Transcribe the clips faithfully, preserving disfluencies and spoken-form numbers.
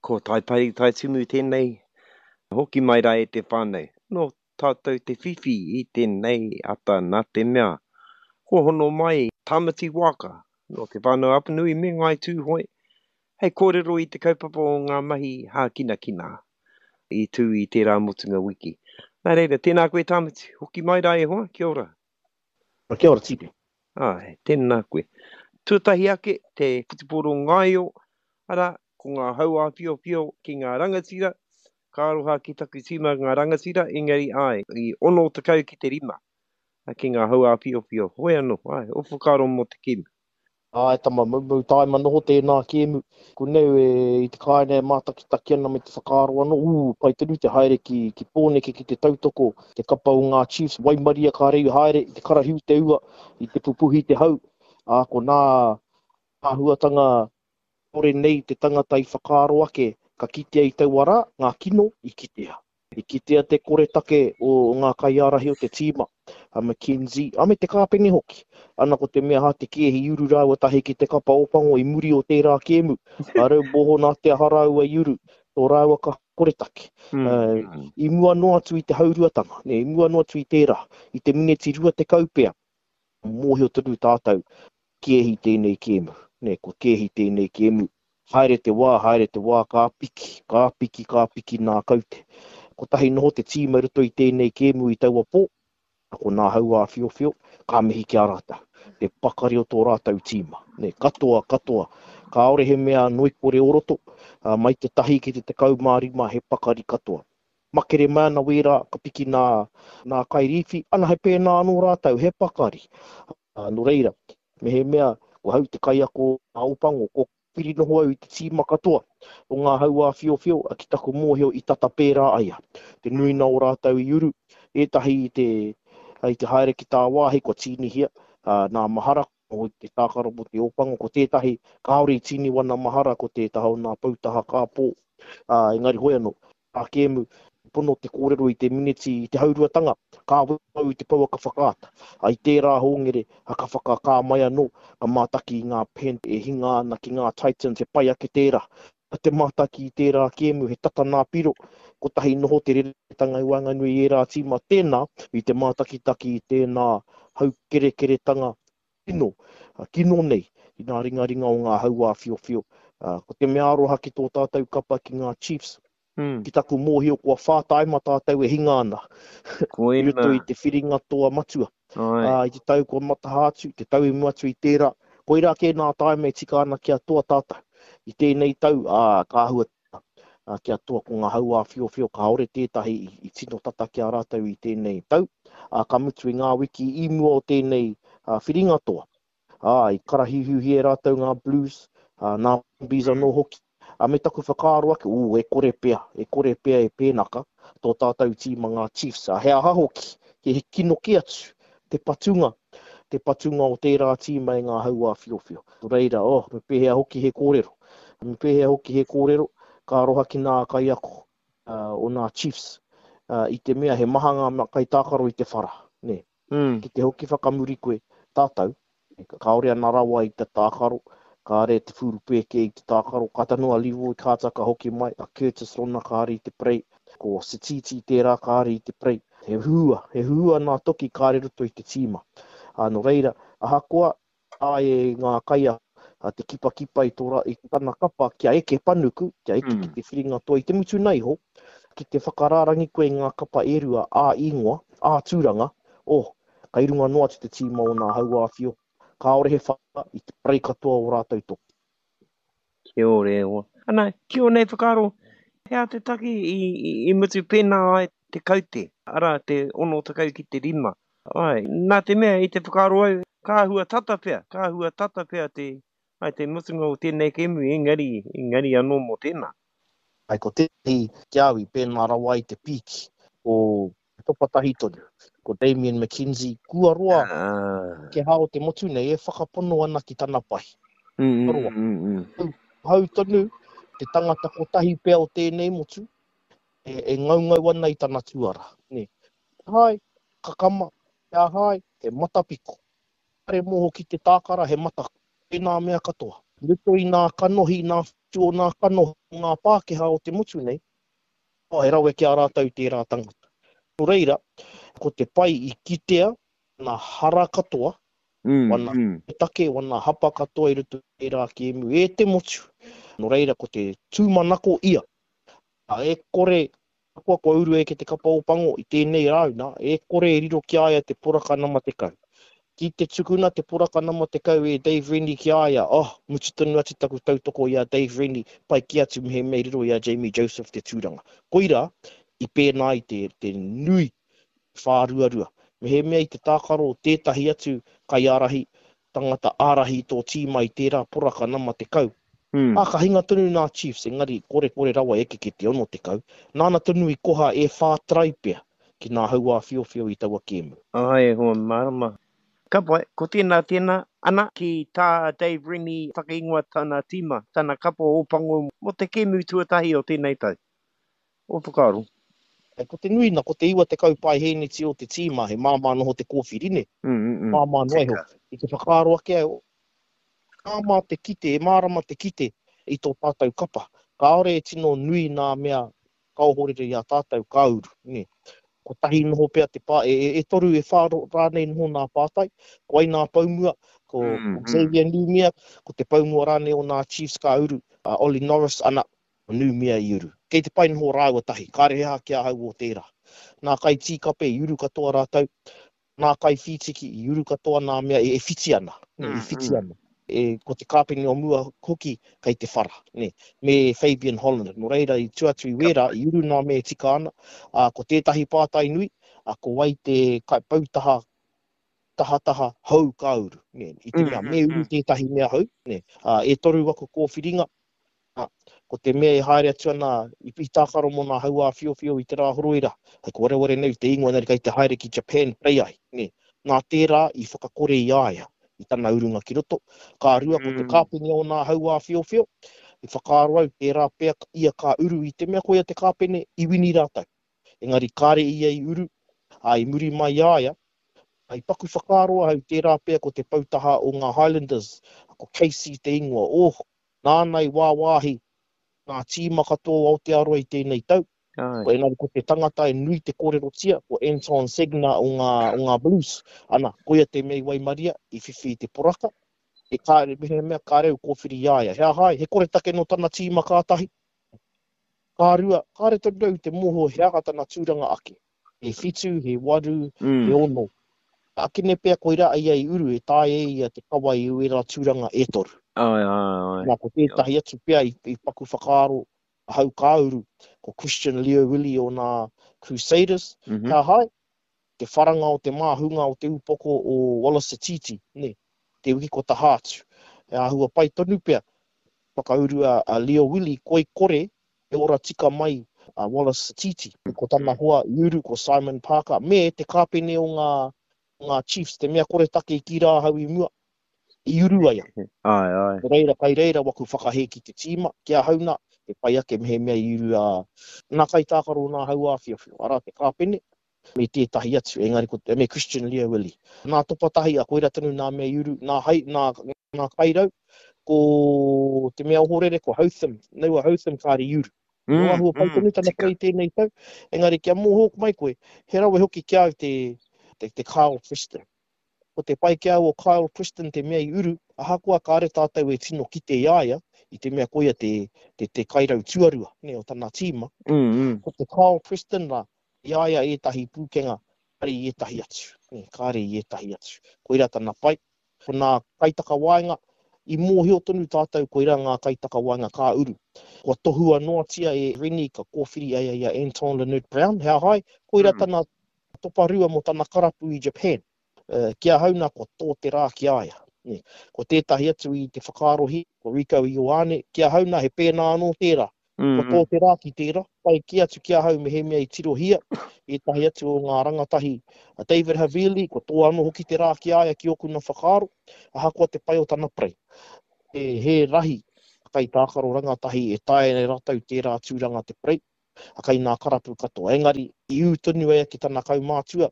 Ko Taipari Taitumu tēnei, hoki mai rā e te whānau. Nō tātou te whiwhi i tēnei ata nā te mea. Ko hono mai Tāmati Wāka, nō Te Whānau Apanui me Ngāi Tūhoe, hei kōrero i te kaupapa o ngā mahi hākinakina i tū i tērā motunga wiki. Nā reira, tēnā koe Tāmati, hoki mai rā e hoa, kia ora. Kia ora, Tipi. Ai, tēnā koe. Tuatahi ake, te whutupōro ngaio, arā, ko ngā hau āwhiowhio ki ngā rangatira, ka aroha ki taku tīma ngā rangatira, engari ai, i ono tekau ki te rima, ki ngā hau āwhiowhio. Hoi anō, ai, o whakaaro mō te kēmu. Ai, tama, moumou tāima noho tēnā kēmu. Ko neu e, i te kāinga e mātakitaki ana me te whakaaro anō, ū, pai tonu te haere ki, ki Pōneke ki te tautoko, te kapa o ngā Chiefs, waimaria ka rei haere, i te karahiu te ua, i te pupuhi te hau. Ā, ko nā āhuatanga kore nei te tangata i whakaaro ake, ka kitea i taua rā, ngā kino i kitea. I kitea te koretake o ngā kaiārahi o te tīma, a McKenzie, a me te kāpene hoki. Ana ko te mea hā te kēhi i uru rāua tahi ki te kapa Ōpango i muri o tērā kēmu. A rau moho nā te aha rāua i uru, tō rāua ka koretake. Mm. Uh, i mua noa atu i te hauruatanga, ne, i mua noa atu i tērā, i te mineti rua tekau pea, mōhio tonu tātou, kēhi tēnei kēmu, ne, ko kēhi tēnei kēmu. Haere te wā, haere te wā, ka piki, ka piki, ka piki nā kaute. Kotahi noho te tīma i roto i tēnei kēmu i taua pō, ko nā hau āwhiowhio, ka mihi ki a rātou. Te pakari o tō rātou tīma. Ne, katoa, katoa. Kāore he mea noikore o roto, uh, mai te tahi ki te tekau mā rima he pakari katoa. Makere mai ana wērā, ka piki nā, nā kairīwhi, ana he pēnā anō rātou, he pakari. Uh, nō reira, me he mea, ko hau te kaiako a Ōpango, ko piri noho au i te tīma katoa o ngā hau āwhiowhio, ki taku mōhio i tata pērā aia. Te nuina o rātou i uru, ētahi i te, i te haere ki tāwāhi kua tīnihia, uh, nā mahara o te tākaro mō te Ōpango, ko tētahi kāore i tīni wana mahara ko tētaha o nā poutaha kāpō. Uh, engari hoi anō, tā kēmu, pono te kōrero i te mineti i te hauruatanga, ka wau i te pouaka whakaata. Ai tērā hōngere, ka whakakā mai anō, ka mātaki i ngā pen e hinga ana ki ngā Titans, he pai ake tērā. Ka te mātaki i tērā kēmu, he tata nā piro, kotahi noho te reretanga i waenganui i ērā tīma tēnā, i te mātakitaki i tēnā haukerekeretanga kino, kino nei, i ngā ringaringa o ngā hau āwhiowhio. Ko te mea aroha ki tō tātou kapa ki ngā Chiefs, Mm. ki taku mōhio kua whā taima tātou e hinga ana. Koina. I roto i te whiringa toa matua. Ai. Uh, i te tau kua mataha atu, te tau i mua atu i tērā. Koirā kē nā taima e tika ana kia toa tātou. I tēnei tau, ā, ka āhua, ā, kia toa ko ngā hau āwhiowhio, kāore tētahi i, i tino tata ki a rātou i tēnei tau. Ā, ka mutu i ngā wiki i mua o tēnei, ā, whiringa toa. Ā, i karahiuhiuhi e rātou ngā Blues, ā, nā Wallabies anō hoki. A me taku whakaaro ake, ū, e kore pea, e kore pea e pēnaka, tō tātou tīma ngā Chiefs. A he aha hoki, he kino ki atu, te patunga, te patunga o tērā tīma e ngā hau āwhiowhio. Nō reira, oh, me pēhea hoki he kōrero. Me pēhea hoki he kōrero, ka aroha ki ngā kaiako, uh, o ngā Chiefs, uh, i te mea he maha ngā kaitākaro i te whara. Ne? Mm. Ki te hoki whakamuri koe, tātou, kāore ana rawa i te tākaro, kāre te whurupēke i te tākaro, ka tanu a Leroy Carter ka hoki mai, a Curtis Rona kāre i te prei, ko Sititi tērā kāre i te prei. He hua, he hua nā toki kāre roto i te tīma. Ā, nō reira, ahakoa ai e ngā kaia, a te kipakipa i tō rā, i tana kapa kia eke panuku, kia eke Mm. ki te whiringa toa i te mutu nei ho, ki te whakarārangi koe i ngā kapa e rua, ā ingoa, ā tūranga, oh, kai runga noa atu te tīma o nā hau āwhio, kāore he whaka i te prei katoa o rātou toki. Kia ora e hoa. Ana, ki o nei whakaaro, he aha te taki i, i, i mutu pēnā ai te kaute, arā te ono tekau ki te rima. Ai, nā te mea i te whakaaro au, ka hua tata pea, ka hua tata pea te, ai, te mutunga o tēnei kēmu, engari, engari anō mō tēnā. Ai, ko tētahi ki au i pēnā rawa i te pīki o topatahi tonu, ko Damian McKenzie, kua roa Ah. ke hao te motu nei e whakapono ana ki tana pai. Mm, mm, Roa. mm, mm. Hau, hau tonu, te tangata kotahi pea o tēnei motu, e, e ngaungau ana i tana tuara. Ne. Hai, kakama, he ahai, he matapiko. Kare moho ki te tākara, he mata, tēnā mea katoa. Ruto i nā kanohi, nā Tu o nā kano ngā Pākehā o te motu nei, oh, he rawe ki a rātou tērā tangata. Nō reira, ko te pai i kitea nā hara katoa, Mm, wana mm. take, wana hapa katoa i roto i tērā kēmu e te motu. Nō reira, ko te tūmanako ia. A e kore, kua kua uru e ke te kapa o pango i tēnei rāuna, e kore e riro ki a ia te poraka nama tekau. Ki te tukuna te poraka nama tekau e Dave Rennie ki a ia, oh, mutu tonu atu taku tautoko i a Dave Rennie, pai ki atu me he mea riro i a Jamie Joseph te tūranga. Koira, i pēnā i te, te nui whāruarua. Me he mea i te tākaro tētahi atu kaiārahi, tangata ārahi tō tīma i tērā poraka nama tekau. Mm. Ā, ka hinga tonu nā Chiefs, engari kore kore rawa eke ki te ono tekau. Nāna tonu i koha e whā trai pea ki nā hauā whiowhio i taua kēmu. Ai, hoa marama. Ka pai, ko tēnā tēnā, ana ki tā Dave Rennie whakaingoa tana tīma, tana kapa o pango mō te kēmu tuatahi o tēnei tau. O whakaaro. E, ko te nui na, ko te iwa tekau pai hēneti o te tīma, he māmā noho te kōwhiri, ne? Mm, mm, mm. Māmā noa iho. Tika. I te whakaaro ake au, māmā te kite, e mārama te kite i tō tātou kapa. Kāore e tino nui nā mea kaohorere i a tātou ka uru, ne? Kotahi noho pea te pā, e, e, e toru e whā rānei noho nā pātai, ko ai nā paumua, ko, Mm, ko Xavier Numia, ko te paumua rānei o nā Chiefs ka uru, uh, Ollie Norris, ana, Numia i uru. Kei te pai noho rāua tahi, kāre he aha ki ahau o tērā. Nā kai tīkape i uru katoa rātou, nā kai whītiki i uru katoa nā mea e, e whiti ana, ne, Mm, e whiti mm. ana. E, ko te kāpene o mua hoki kei te whara, ne, me Fabian Holland. Nō reira i tuatu i wērā, i uru nā mea e tika ana, a, ko tētahi pātai nui, a, ko wai te kai pautaha tahataha hou ka uru. Ne, i te Mm, mea, mm, me uru mm. tētahi mea hou, ne, a, e toru waku kōwhiringa, a, ko te mea e haere atu ana i, i tākaro mō nā hauā whiowhio i te rā horoira, hei ko wareware nei te ingoa nari kei te haere ki Japan play ai, ne, nā tērā i whakakore i a ia, i tana urunga ki roto. Ka rua ko te Mm. kāpene o nā hauā whiowhio, i whakaaro au tērā pea ia ka uru i te mea koia te kāpene i wini rātou. Engari kāre ia i uru, a i muri mai i a ia, ai paku whakaaro ahau tērā pea ko te pautaha o ngā Highlanders, ko Casey te ingoa, oh, nāna i wāwāhi ngā tīma katoa o Aotearoa i tēnei tau. Ai. Ko engari ko te tangata e nui te kōrerotia, ko Anton Segner o ngā, o ngā Blues. Ana, koia te mea i Waimaria, i whiwhi i te poraka. E kāre, me he mea kāre u kōwhiri i a ia. He aha ai, he koretake no tana tīma kātahi. Ka rua, kāre tonu au te moho he aha tana tūranga ake. He whitu, he waru, Mm. he ono. Akene pea koira ai ai uru e tae e ia te kawa i uera tūranga e toru. Ai, ai, ai. Nā, ko tētahi atu pea i, i paku whakaaro ahau ka uru, ko Christian Leo Willie o nā Crusaders. Mm-hmm. He aha ai, te wharanga o te māhunga o te upoko o Wallace Sititi, ne, te wiki ko taha atu. E āhua pai tonu pea, whakauru a, a Leo Willie, koi kore e ora tika mai a Wallace Sititi. Ko tana hoa i uru, ko Simon Parker, me te kāpene o ngā, ngā Chiefs, te mea kore take i ki rā ahau i mua, i uru ai. Ai, ai. Ko reira, kai reira waku whakahē ki te tīma, ki ahau nā, e pai ake me he mea i uru a nā kai tākaro nā hauā whiowhio, arā te kāpene, me tētahi atu, engari ko, me Christian Leo Willie. Nā topatahi a koira tonu nā mea i uru, nā, hai, nā, nā kairau, ko te mea ohorere, ko Hotham, Noah Hotham kāre i uru. Mm, Nō ahua pai mm, tonu tana tika. play tēnei tau, engari kia mōhok mai koe, he rawe hoki ki au te, te, te Kyle Preston. Ko te pai ki au o Kyle Preston te mea i uru, ahakoa kāre tātou e tino kite i a ia, i te mea koia te, te, te kairau tuarua, ne, o tana tīma. Mm, mm. Ko te Kyle Preston rā, i a ia ētahi pūkenga, kāre i ētahi atu, ne, kāre i ētahi atu. Koira tana pai. Ko nā kaitakawaenga, i mōhio tonu tātou koira ngā kaitakawaenga ka uru. Kua tohua noatia e Rennie ka kōwhiri ai ia Anton Lienert-Brown, he aha ai, koira Mm. tana toparua mō tana karapu i Japan. Uh, ki ahau nā kua tō te rā ki a ia. Ne. Ko tētahi atu i te whakaarohi, ko Rieko Ioane, ki ahau nā he pēnā anō tērā. Mm, Ko tō te rā ki tērā, pai ki atu ki ahau me he mea i tirohia, ētahi atu o ngā rangatahi a David Havili, ko tō anō hoki te rā ki a ia ki ōku nā whakaaro, ahakoa te pai o tana prei. E, he rahi, kai tākaro rangatahi e tae nei rātou tērā tūranga te prei, a kai nā karapu katoa. Engari, i ū tonu e ki tana kaumātua,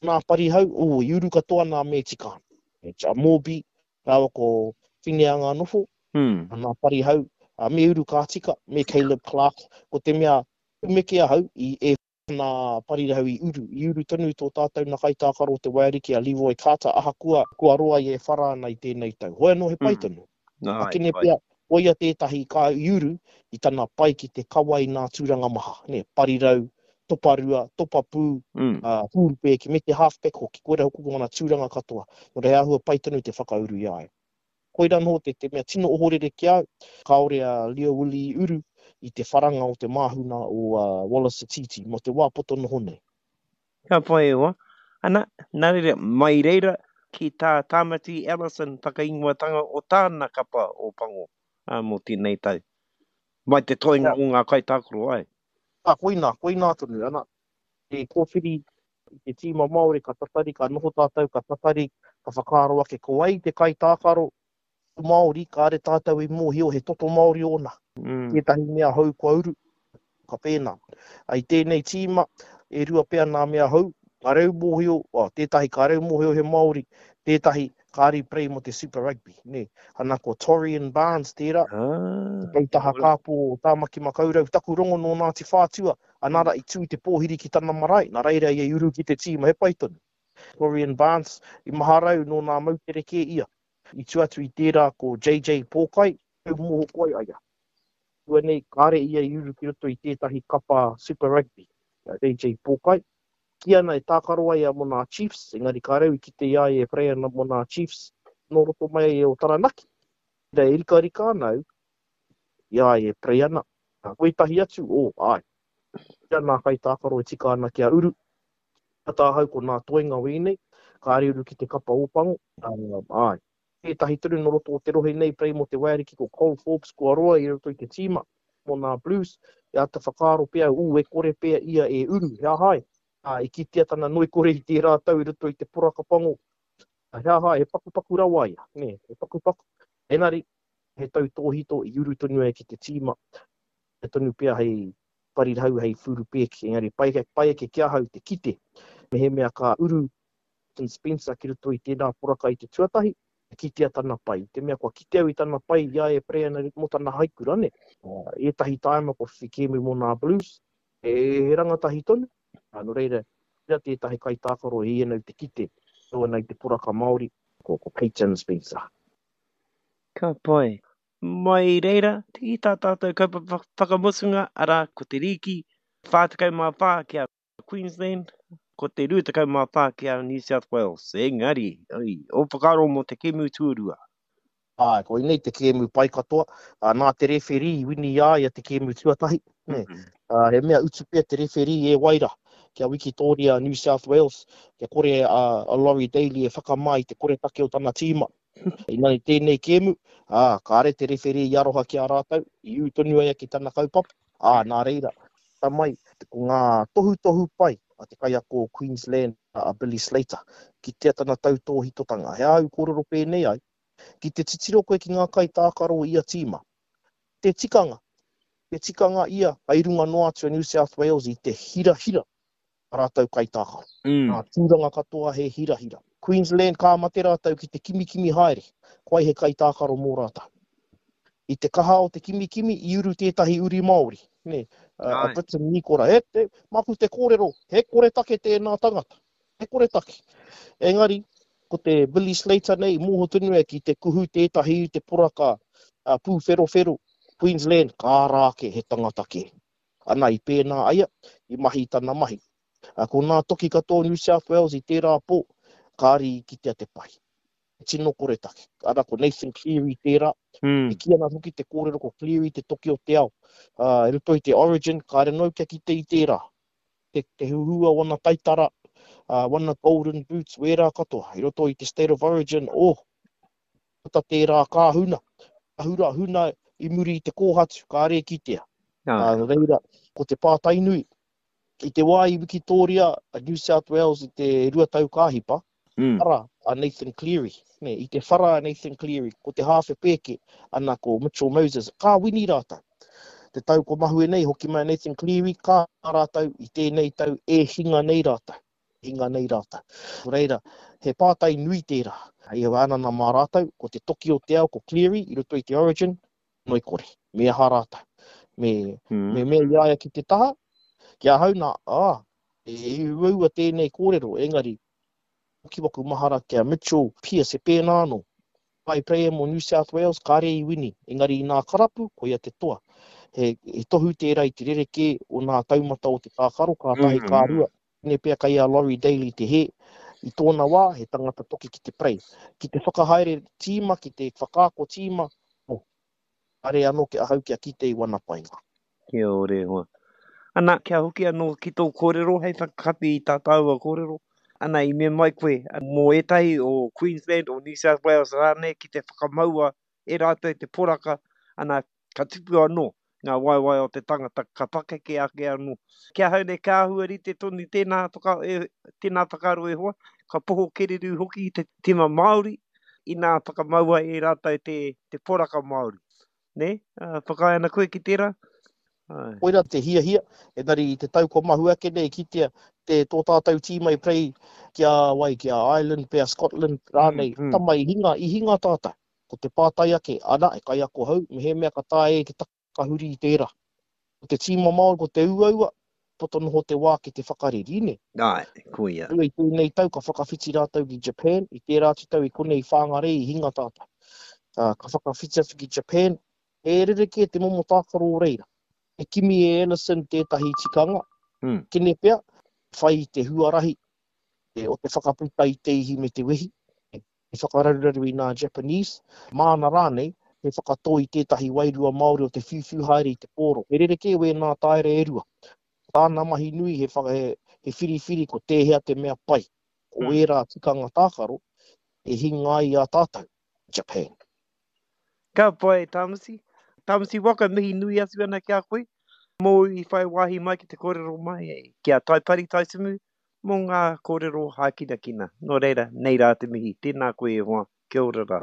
nā parihau, o, i uru katoa nā me tika. E, a Morby, rāua ko Fineanga Nofo, Mm. nā parihau, Uh, me uru ka tika, me Caleb Clark, ko te mea meke ahau i e nā parirau i uru. I uru tonu tō tātou na kaitākaro o te Waiariki a Leroy Carter, ahakoa kua roa i e whara ana i tēnei tau. Hoi anō he pai Mm. tonu. Nā, Akene pai. pea, koia tētahi ka i uru i tana pai ki te kawa i nā tūranga maha. Ne, parirau, toparua, topapū, Mm. uh, hūrupēki, me te halfback hoki, koira hoki ko ngana tūranga katoa. Nō reira, he āhua pai tonu te whakauru i a ia. Koira anō te, te mea tino ohorere ki au, kāore a Leo Willie i uru i te wharanga o te māhuna o uh, Wallace Sititi mō te wā poto noho nei. Ka pai e hoa. Ana, nā reira, mai reira ki tā Tāmati Ellison whakaingoatanga o tāna kapa o Pango ā, mō tēnei tau. Mai te toenga o ngā kaitākaro ai. Ah, koina, koina tonu, ana. E kōwhiri i te tīma Māori, ka tatari, ka noho tātou, ka tatari, ka whakaaro ake ko ai te kaitākaro Māori, kāre tātou i mōhio he toto Māori ōna. Mm. Tētahi mea hou kua uru, ka pēnā. Ai tēnei tīma, e rua pea nā mea hou, ka reu mōhio, oh, tētahi ka reu mōhio he Māori, tētahi kāri prei mō te Super Rugby. Ne? Ana ko Torian Barnes tērā, Ah, te poutaha kāpō o Tāmaki Makaurau, taku rongo nō Ngāti Whātua, anara i tū te pōhiri ki tana marae, nā reira ia i uru ki te tīma, he pai tonu. Torian Barnes, i maharau nō nā moutere kē ia. I tu atu i tērā ko J J Pōkai, e moho koe aia. Tua nei, kāre ia i uru ki roto i tētahi kapa Super Rugby, J J Pōkai. Ki ana e tākaro ai a mō nā Chiefs, engari ka reu i kite i a ia e prei ana mō nā Chiefs, nō roto mai e o Taranaki. Reira e rika rika ana au, i a ia e prei ana. Koe tahi atu, o, ai. Kia nā kai tākaro e tika ana kia uru. Ka tāhau ko nā toenga wēnei, kāre uru ki te kapa ōpango, ai. Tētahi tonu nō roto o te rohe nei prei mō te Waiariki ko Cole Forbes kua roa i roto i te tīma mō nā Blues, e āta whakaaro pea, ū, e kore pea ia e uru, he ahai. Ā, i kitea tana noi kore i tērā tau i roto i te poraka pango. Ā, he ahai, he pakupaku rawa ia, nē, he pakupaku. Engari, he tau tōhito i uru tonu ai ki te tīma. He tonu pea hei parirau, hei whurupēki. Engari, pai, pai ake ki ahau te kite. Me he mea ka uru Peyton Spencer ki roto i tēnā poraka i te tuatahi, kitea tana pai. Te mea kua kite au i tana pai i a e prei ana mō tana haikura, ne? Ā, ētahi tāima kua whiwhi kēmu mō nā Blues, e, he rangatahi tonu. Ā, nō reira, reira tētahi kaitākaro e ianau te kite, tō ana i te poraka Māori, ko, ko Peyton Spencer. Ka pai. Mai reira, te tā tātou kaupapa whakamutunga, arā, ko te rīki, whā tekau mā whā ki a Queensland, ko te rua tekau mā whā ki a New South Wales. Engari, oi, o whakaaro mō te kēmu tuarua. Āe, ko inei te kēmu pai katoa. Ā, nā te referee i wini i a ia te kēmu tuatahi. Nē. Mm-hmm. Ā, he mea utu pea te referee e waira kia Wikitoria New South Wales, kia kore a, a Laurie Daley e whakamā i te koretake o tana tīma. Inani tēnei kēmu, ā, kāre te referee i aroha ki a rātou, i ū tonu ai ki tana kaupapa. Ā, nā reira, ta mai, ko ngā tohutohu pai a te kaiako o Queensland, a Billy Slater, ki tea tana tautōhitotanga. He au kōrero pēnei ai, ki te titiro koe ki ngā kaitākaro i a tīma. Te tikanga, te tikanga ia, ai runga noa atu a New South Wales i te hirahira a rātou kaitākaro. Mm. Ngā tūranga katoa he hirahira. Queensland ka mate rātou ki te kimikimi haere, koai he kaitākaro mō rātou. I te kaha o te kimikimi, i uru tētahi uri Māori. Nē, a, a Ai. Briton Nikora, he, te, maku te kōrero, he koretake tēnā tangata. He koretake. Engari, ko te Billy Slater nei, mōho tonu e ki te kuhu tētahi i te poraka, a, pūwherowhero, Queensland, ka rā ake he tangata kē. Ana i pēnā aia, i mahi tana mahi. A, ko nā toki katoa New South Wales i tērā pō, kāri i kitea te pai. Tino koretake. Ana ko Nathan Cleary tērā. Mm. E ki ana hoki te kōrero ko Cleary te toki o te ao. Uh, e roto i te Origin, kāre nau kia kite i tērā. Te, te huhua wana taitara, uh, wana golden boots, wērā katoa. I roto i te State of Origin, oh, puta tērā kā huna. Ka hura huna i muri i te kōhatu, kāre kitea. Ah. Uh, reira, ko te pātai nui. I te wā i Wikitoria, a New South Wales i te rua tau kāhipa, Mm. ara a Nathan Cleary. Ne, i te whara a Nathan Cleary, ko te hāwhe pēke, ana ko Mitchell Moses, ka wini rātou. Te tau ko mahue nei, hoki mai Nathan Cleary, ka rātou i tēnei tau e hinga nei rātou. Hinga nei rātou. Nō reira, he pātai nui tērā. I hea ana nā mā rātou, ko te toki o te ao, ko Cleary, i roto i te Origin, noi kore. Me aha rātou. Me, mm. me mea i a ia ki te taha, ki ahau nā, ā, e uaua tēnei kōrero, engari, hoki waku mahara ki a Mitchell Pearce, e pēnā anō. Pai player mō New South Wales, kāre i wini, engari i nā karapu, koia te toa. He, he tohu tērā i te rerekē o nā taumata o te tākaro, ka tahi ka rua. Tēnei pea kei a Laurie Daley te hē. I tōna wā, he tangata toki ki te prei. Ki te whakahaere tīma, ki te whakaako tīma, oh, kāre anō ki ahau kia kite i wana painga. Kia ora e hoa. Ana, kia hoki anō ki tō kōrero hei whakakapi i tā tāua kōrero. Ana, i mea mai koe, mō ētahi o Queensland, o New South Wales rānei ki te whakamaua e rātou te poraka, ana, ka tupu anō ngā waewae o te tangata, ka pakeke ake anō. Ki ahau nei, ka āhua rite tonu tēnā, whaka, e, tēnā whakaaro e hoa, ka poho kereru hoki te tima Māori, inā whakamaua e rātou te, te poraka Māori. Nē? Uh, whakaae ana koe ki tērā? Ai. Koira te hiahia, engari i te tau kua mahu ake nei kitea te tō tātou tīma i play ki a wai, ki a Ireland pea, Scotland rānei, mm, mm. tama i hinga, i hinga tātou. Ko te pātai ake, ana, e kaiako hou, mehemea ka taea e te takahuri i tērā. Ko te tīma Māori, ko te uaua, poto noho te wā ki te whakareri, nē? Āe, koia. I tēnei tau ka whakawhiti rātou ki Japan, i tērā atu tau i konei i Whangarei i hinga tātou. Uh, ka whakawhiti atu ki Japan, he rerekē te momo tākaro o reira. E kimi e Ellison tētahi tikanga, mm. kene pea, whai i te huarahi e, o te whakaputa i te ihi me te wehi, e whakararuraru i nā Japanese, māna rānei, he whakatō i tētahi wairua Māori o te whiuwhiu haere i te pōro. He rerekē wēnā taera e rua. Tāna mahi nui he, whaka, he, he whiriwhiri ko tēhea te mea pai. O mm. ērā tikanga tākaro e hinga ai i a tātou, Japan. Ka pai, Tāmati. Tāmati Waka, mihi nui atu ana ki a koe. Mōu i whai wāhi mai ki te kōrero mai, ki a Taipari Taitimu, mō ngā kōrero hākinakina. Nō reira, nei rā te mihi. Tēnā koe e hoa. Kia ora rā.